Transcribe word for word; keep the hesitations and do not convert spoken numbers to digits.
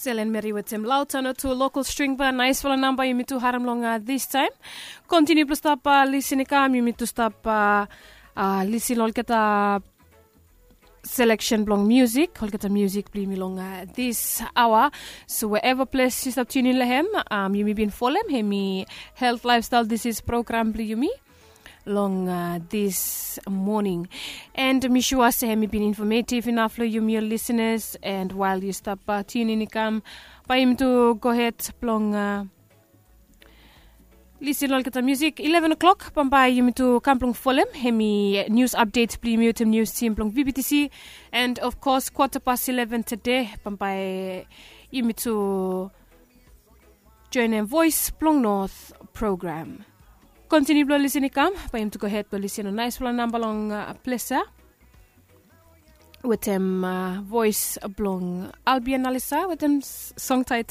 Selen meri wetem lautano tu lokal stringba naisfala namba yumi tu harim long distaim. Kontiniu blong stap lisin i kam yumi tu stap lisin long olgeta seleksen blong musik, olgeta musik blong yumi long dis aoa. So wherever ples yu stap tunin long hem, yumi bin folem hem i health lifestyle disease program blong yumi long dis moning. And mi sua se hem i bin informative inaf long yumi ol lisenas. And wael yu stap tunin i kam, bae yumi tu gohed blong lisin long olgeta musik. Eleven o'clock bambae yumi tu kam blong folem hem i nius apdet blong yumi wetem nius tim blong vbtc. And of kos kwata pas eleven tede bambae yumi tu joenem voes blong not program. Kontiniu blong lisin i kam, bae yumi tu gohed blong lisin long naisfala namba long ples ya wetem voes blong albion alisa wetem song tait